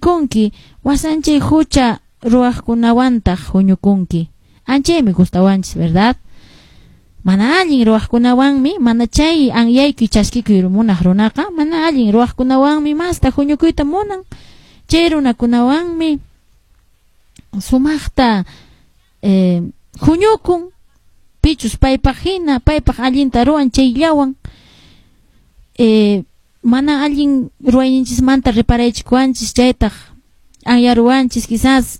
Huchallikunki, wasanchay hucha ruwaqkunawantaq huñukunki. Anchaymi gustawanchis, ¿verdad? Mana allin ruwaqkunawanmi, mana chay anyaykuy chaskikuy munaq runaqa, mana allin ruwaqkunawanmi masta huñukuyta munan. Chay runakunawanmi sumaqta huñukun, pichus paypaq hina, paypaq allinta ruwan chayllawan. Mana allin ruwayninchismanta reparaychikuwanchis, chaytaq anyaruwanchis, quizás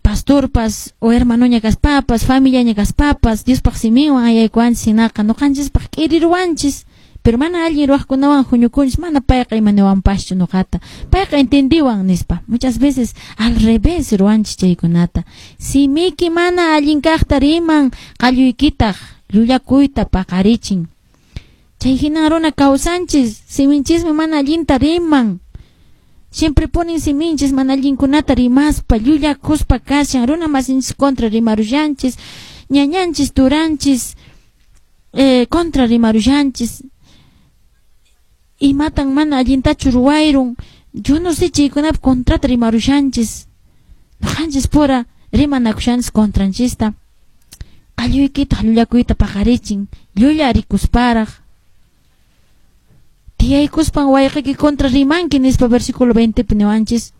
pastorpas o hermanoña kaspapas, familiaña kaspapas, Diospaq siminwan anyaykuwanchis hinaqa ñuqanchispaq k'iriruwanchis, pero mana allin ruwaqkunawan huñukunchis, mana payqa imaniwanpaschu ñuqata, payqa entendiwan nispa. Muchas veces al revés ruwanchis chaykunata. Simiki mana allin kaqta riman, qalluykitaq llullakuyta paqarichin. Chay hinan runa kawsanchis, siminchismi mana allinta riman. Siempre ponen siminchis mana allinkunata rimaspa, llullakuspa kashan, runa masinchis contra rimarushanchis, ñañanchis, turanchis, contra rimarushanchis. Imatan mana allintachu ruwayrun, yo no sé chaykunapi contrata rimarushanchis. Ñuqanchis pura rimanakushanchis contranchista. Qalluykitaq llullakuyta paqarichin, llullarikusparaq. Tiyaykuspan wayqiyki contra rimanki nispa versículo 20 pi niwanchis.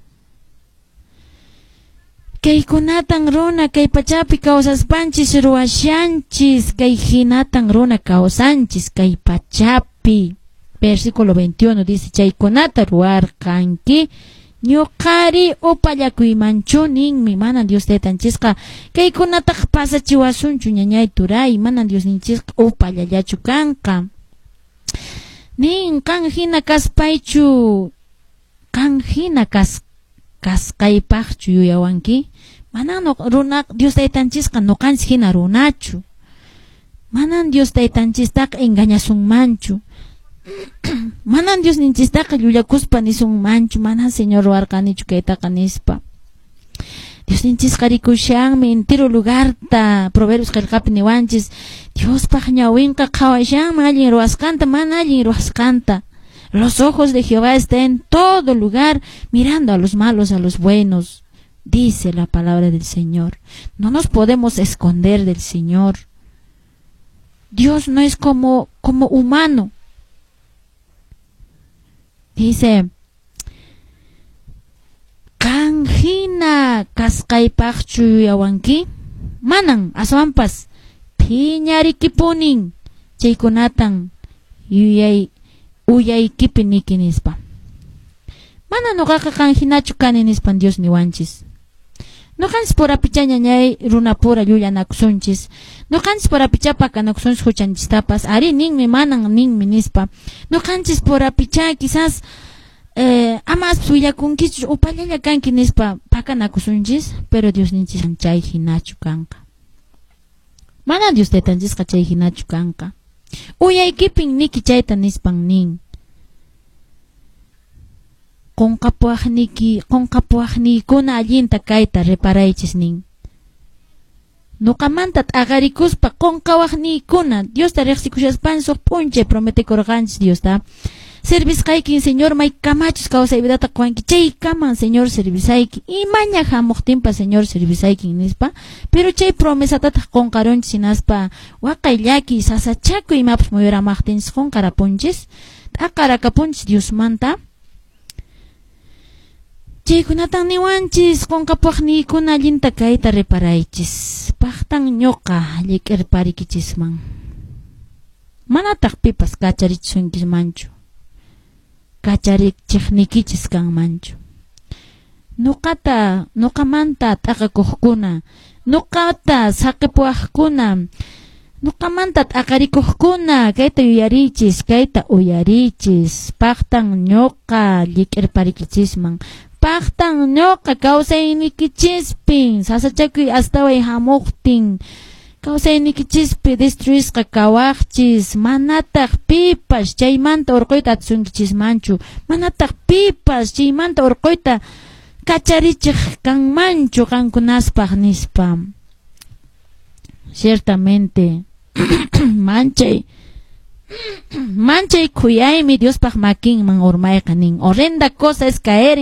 Kaykunatan runa kay pachapi kawsaspanchis ruwashanchis, kay hinatan runa kawsanchis kay pachapi. Versículo 21 dice, chaykunata ruwarqanki, ñuqari upallakuymanchu ninmi, mana Dios taytanchisqa kaykunataq pasachiwasunchu ñañay turay, mana Diosninchisqa upallallachu kanqa. Nin, qan hina kaspaychu, qan hina kasqaypaqchu yuyawanki? Manan runa Dios taytanchisqa ñuqanchis hina runachu. Manan Dios taytanchistaqa engañasunmanchu. Manan Diosninchistaqa llullakuspa nisunmanchu, manan Señor ruwarqanichu kaytaqa nispa. Diosninchisqa rikushanmi entero lugarta, Proverbios qillqapi niwanchis, Diospaq ñawinqa qhawashanmi allin ruwasqanta, mana allin ruwasqanta. Los ojos de Jehová están en todo lugar, mirando a los malos, a los buenos, dice la palabra del Señor. No nos podemos esconder del Señor. Dios no es como humano. Dice, qan hina kasqaypaqchu yuyawanki? Manan, aswanpas phiñarikipunin chaykunatan yuyay uyaykipi niki nispa. Mana ñuqaqa qan hinachu kani nispan Dios niwanchis. Ñuqanchis purapicha ñañay runapura llullanakusunchis. Ñuqanchis purapicha pakanakusunchis huchanchistapas. Ari ninmi, manan ninmi nispa. Ñuqanchis purapicha quizás ama willakunkichu upallalla kanki nispa pakanakusunchis, pero Diosninchis chay hinachu kanqa. Manan Dios taytanchisqa chay hinachu kanqa. Uyaykipin niki chayta nispan nin. Qunqapuwaqniki, qunqapuwaqniykuna allinta kayta reparaychis nin. Ñuqamanta t'aqarikuspa qunqawaqniykuna Diosta riqsikushaspan suq p'unchay prometekurqanchis Diosta. Servisqaykin Señor may kamachus kawsay vidata quwanki chaykaman Señor servisayki imaña hamuqtinpas Señor servisaykin nispa, pero chay promesatataq qunqarunchis hinaspa waqay llaki sasachakuy imapas muyuramaqtinchis qunqarapunchis t'aqarakapunchis Diosmanta. Chaykunatan niwanchis qunqapuwaqniykuna allinta kayta reparaychis, paqtan ñuqa llik'irparikichisman, manataq pipas kacharichisunkismanchu, kacharichiqniykichis kanmanchu. Ñuqata, ñuqamanta t'aqakuqkuna, ñuqata saqipuwaqkuna, ñuqamanta t'aqarikuqkuna, kayta yuyariychis, kayta uyariychis, paqtan ñuqa llik'irparikichisman, paqtan ñuqa kawsaynikichispin, sasachakuy astaway hamuqtin, kawsaynikichispi destruisqa kawaqchis, manataq pipas chaymanta urquyta atisunkichismanchu, manataq pipas chaymanta urquyta kacharichiq kanmanchu qankunaspaq nispa. Ciertamente, manchay khuyaymi Diospaq makinman urmayqa nin. Horrenda cosa es caer en